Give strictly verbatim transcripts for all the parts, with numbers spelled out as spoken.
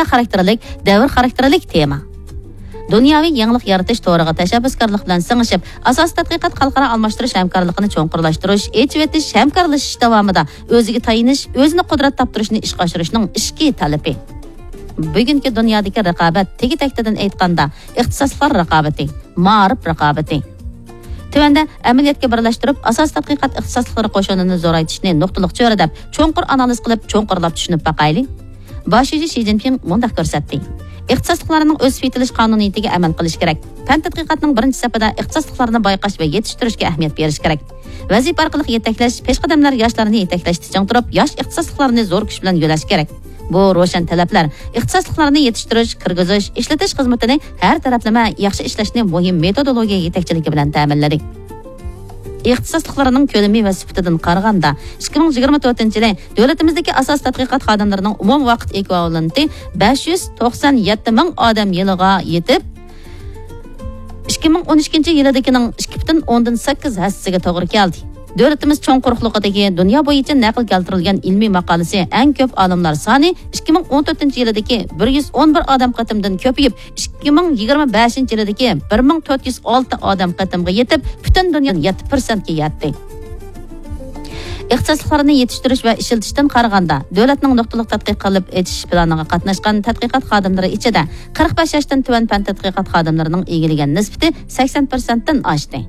خاراكتېرلىك، دەۋر خاراكتېرلىك تېما. دۇنياۋى يېڭىلىق يارىتىش تورىغا تەشەببۇسكارلىق بىلەن سىڭىشىپ، ئاساسىي تەتقىقات خەلقئارا ئالماشتۇرۇش ھەمكارلىقىنى چوڭقۇرلاشتۇرۇش، ئېچىۋېتىش، ھەمكارلىشىش داۋامىدا ئۆزىگە تايىنىش، ئۆزىنى قۇدرەت تاپتۇرۇشنى ئىشقا ئاشۇرۇشنىڭ ئىچكى تەلىپى. بۈگۈنكى دۇنيادىكى رىقابەت تېگى-تەكتىدىن ئېيتقاندا، ئىختىساسلىقلار رىقابىتى، مائارىپ رىقابىتى. تۆۋەندە ئەمەلىيەتكە بىرلەشتۈرۈپ، ئاساسىي تەتقىقات ئىختىساسلىقلىرى قوشۇنىنى زورايتىشنى نۇقتىلىق چۆرىدەپ، چوڭقۇر ئانالىز قىلىپ، چوڭقۇرلاپ چۈشىنىپ باقايلى. باش شۇجى شى جىنپىڭ مۇنداق كۆرسەتتى: ئىختىساسلىقلارنىڭ ئۆسۈپ يېتىلىش قانۇنىيىتىگە ئەمەل قىلىش كېرەك. پەن تەتقىقاتنىڭ بىرىنچى سەپىدە ئىختىساسلىقلارنى بايقاش ۋە يېتىشتۈرۈشكە ئەھمىيەت بېرىش كېرەك. ۋەزىپە ئارقىلىق يېتەكلەش، پېشقەدەملەر ياشلارنى يېتەكلەشتە چىڭ تۇرۇپ، ياش ئىختىساسلىقلارنى زور كۈچ بىلەن يۆلەش كېرەك. بۇ روشەن تەلەپلەر ئىختىساسلىقلارنى يېتىشتۈرۈش، كىرگۈزۈش، ئىشلىتىش خىزمىتىنى ھەر تەرەپلىمە ياخشى ئىشلەشنى مۇھىم مېتودولوگىيە يېتەكچىلىكى بىلەن تەمىنلىدى. ئىختىساسلىقلىرىنىڭ كۆلىمى ۋە سۈپىتىدىن قارىغاندا، ئىككى مىڭ يىگىرمە تۆتىنچى يىلى دۆلىتىمىزدىكى ئاساسىي تەتقىقات خادىملىرىنىڭ ئومۇمىي ۋاقىت ئېكۋىۋالېنتى بەش يۈز توقسان يەتتە مىڭ ئادەم يىلىغا يېتىپ، ئىككى مىڭ ئون ئىككىنچى يىلىدىكىنىڭ ئىككى پۈتۈن ئوندىن سەككىز ھەسسىسىگە توغرا كەلدى. دۆلىتىمىز چوڭ قۇرۇقلۇقىدىكى دۇنيا بويىچە نەقىل كەلتۈرۈلگەن ئىلمىي ماقالىسى ئەڭ كۆپ ئالىملار سانى ئىككى مىڭ ئون تۆتىنچى يىلىدىكى بىر يۈز ئون بىر ئادەم قېتىمدىن كۆپىيىپ، ئىككى مىڭ يىگىرمە بەشىنچى يىلىدىكى بىر مىڭ تۆت يۈز ئالتە ئادەم قېتىمغا يېتىپ، پۈتۈن دۇنيا يەتتە پىرسەنتكە يەتتى. ئىختىساسلىقلارنى يېتىشتۈرۈش ۋە ئىشلىتىشتىن قارىغاندا، دۆلەتنىڭ نۇقتىلىق تەتقىق قىلىپ ئېچىش پىلانىغا قاتناشقان تەتقىقات خادىملىرى ئىچىدە قىرىق بەش ياشتىن تۆۋەن پەن تەتقىقات خادىملىرىنىڭ ئىگىلىگەن نىسبىتى سەكسەن پىرسەنتتىن ئاشتى.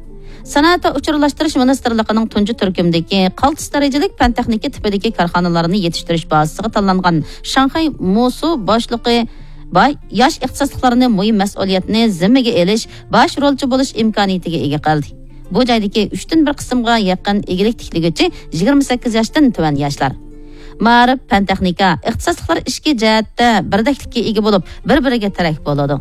سانائەت ۋە ئۇچۇرلاشتۇرۇش مىنىستىرلىقىنىڭ تۇنجى تۈركۈمدىكى قالتىس دەرىجىلىك پەن تېخنىكا تىپىدىكى كارخانىلارنى يېتىشتۈرۈش بازىسىغا تاللانغان شاڭخەي موسۇ باشلىقى باي ياش ئىختىساسلىقلارنى مۇھىم مەسئۇلىيەتنى زىممىگە ئېلىش، باش رولچى بولۇش ئىمكانىيىتىگە ئىگە قىلدى. بۇ جايدىكى ئۈچتىن بىر قىسىمغا يېقىن ئىگىلىك تىكلىگۈچى يىگىرمە سەككىز ياشتىن تۆۋەن ياشلار. مائارىپ، پەن تېخنىكا، ئىختىساسلىقلار ئىچكى جەھەتتە بىردەكلىككە ئىگە بولۇپ، بىر-بىرىگە تىرەك بولىدۇ.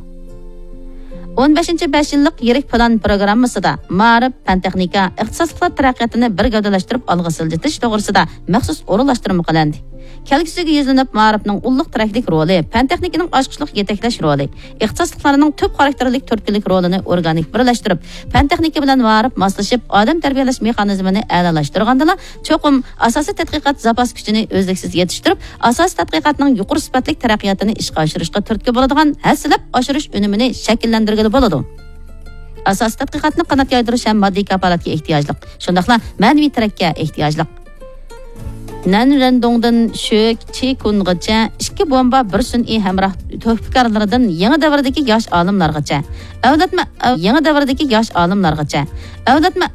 ئون بەشىنچى بەش يىللىق يىرىك پىلان پىروگراممىسىدا مائارىپ، پەن تېخنىكا، ئىختىساسلىقلار تەرەققىياتىنى بىر گەۋدىلەشتۈرۈپ ئالغا سىلجىتىش توغرىسىدا مەخسۇس ئورۇنلاشتۇرما قىلىندى. كەلگۈسىگە يۈزلىنىپ، مائارىپنىڭ ئۇللۇق تىرەكلىك رولى، پەن تېخنىكىنىڭ ئاچقۇچلۇق يېتەكلەش رولى، ئىختىساسلىقلارنىڭ تۈپ خاراكتېرلىك تۈرتكىلىك رولىنى ئورگانىك بىرلەشتۈرۈپ، پەن تېخنىكا بىلەن مائارىپ ماسلىشىپ، ئادەم تەربىيەلەش مېخانىزمىنى ئەلالاشتۇرغاندىلا، چوقۇم ئاساسىي تەتقىقات زاپاس كۈچىنى ئۈزلۈكسىز يېتىشتۈرۈپ، ئاساسىي تەتقىقاتنىڭ يۇقىرى سۈپەتلىك تەرەققىياتىنى ئىشقا ئاشۇرۇشقا تۈرتكە بولىدىغان ھەسسىلەپ ئاشۇرۇش ئۈنۈمىنى شەكىللەندۈرگىلى بولىدۇ. ئاساسىي تەتقىقاتنى قانات يايدۇرۇش ھەم ماددىي كاپالەتكە ئېھتىياجلىق، شۇنداقلا مەنىۋى تىرەككە ئېھتىياجلىق. نەنرەندۇڭدىن شۆ چىكۇنغىچە ئىككى بومبا، بىر سۈنئىي ھەمراھ تۆھپىكارلىرىدىن يېڭى دەۋردىكى ياش ئالىملارغىچە، ئەۋلادمۇ يېڭى دەۋردىكى ياش ئالىملارغىچە، ئەۋلادمۇ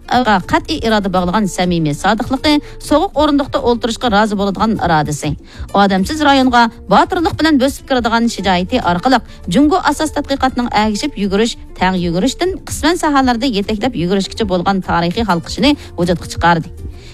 قەتئىي ئىرادە باغلىغان سەمىمىي سادىقلىقى، سوغۇق ئورۇندۇقتا ئولتۇرۇشقا رازى بولىدىغان ئىرادىسى، ئادەمسىز رايونغا باتۇرلۇق بىلەن بۆسۈپ كىرىدىغان شىجائىتى ئارقىلىق جۇڭگو ئاساسىي تەتقىقاتنىڭ ئەگىشىپ يۈگۈرۈش، تەڭ يۈگۈرۈشتىن قىسمەن ساھەلەردە يېتەكلەپ يۈگۈرۈشكىچە بولغان تارىخىي ھالقىشىنى ۋۇجۇدقا چىقاردى.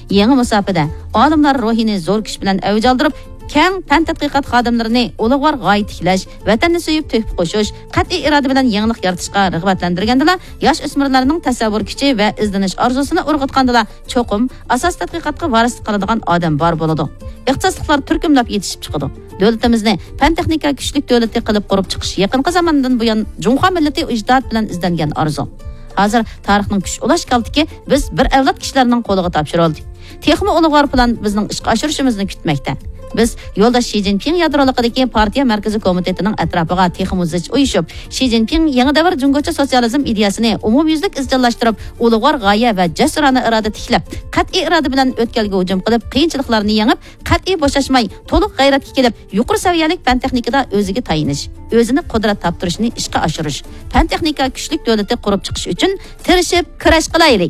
يېڭى مۇساپىدە ئالىملار روھىنى زور كۈچ بىلەن ئەۋج ئالدۇرۇپ، كەڭ پەن تەتقىقات خادىملىرىنى ئۇلۇغۋار غايە تىكلەش، ۋەتەننى سۆيۈپ تۆھپە قوشۇش، قەتئىي ئىرادە بىلەن يېڭىلىق يارىتىشقا رىغبەتلەندۈرگەندىلا، ياش ئۆسمۈرلەرنىڭ تەسەۋۋۇر كۈچى ۋە ئىزدىنىش ئارزۇسىنى ئۇرغۇتقاندىلا، چوقۇم ئاساسىي تەتقىقاتقا ۋارىسلىق قىلىدىغان ئادەم بار بولىدۇ. ئىختىساسلىقلار تۈركۈملەپ يېتىشىپ چىقىدۇ. دۆلىتىمىزنى پەن تېخنىكا كۈچلۈك دۆلىتى قىلىپ قۇرۇپ چىقىش يېقىنقى زاماندىن بۇيان جۇڭخۇا مىللىتى ئىجتىھات بىلەن ئىزدەنگەن ئارزۇ. ھازىر تارىخنىڭ كۈچ ئۇلاش كالتىكى بىز بىر ئەۋلاد كىشىلەرنىڭ قولىغا تاپشۇرۇلدى. تېخىمۇ ئۇلۇغۋار پىلان بىزنىڭ ئىشقا ئاشۇرۇشىمىزنى كۈتمەكتە. بىز يولداش شى جىنپىڭ يادرولۇقىدىكى پارتىيە مەركىزىي كومىتېتىنىڭ ئەتراپىغا تېخىمۇ زىچ ئۇيۇشۇپ، شى جىنپىڭ يېڭى دەۋر جۇڭگوچە سوتسىيالىزم ئىدىيەسىنى ئومۇميۈزلۈك ئىزچىللاشتۇرۇپ، ئۇلۇغۋار غايە ۋە جەسۇرانە ئىرادە تىكلەپ، قەتئىي ئىرادە بىلەن ئۆتكەلگە ھۇجۇم قىلىپ، قىيىنچىلىقلارنى يېڭىپ، قەتئىي بوشاشماي، تولۇق غەيرەتكە كېلىپ، يۇقىرى سەۋىيەلىك پەن تېخنىكىدا ئۆزىگە تايىنىش، ئۆزىنى قۇدرەت تاپتۇرۇشنى ئىشقا ئاشۇرۇش، پەن تېخنىكا كۈچلۈك دۆلىتى قۇرۇپ چىقىش ئۈچۈن تىرىشىپ كۈرەش قىلايلى!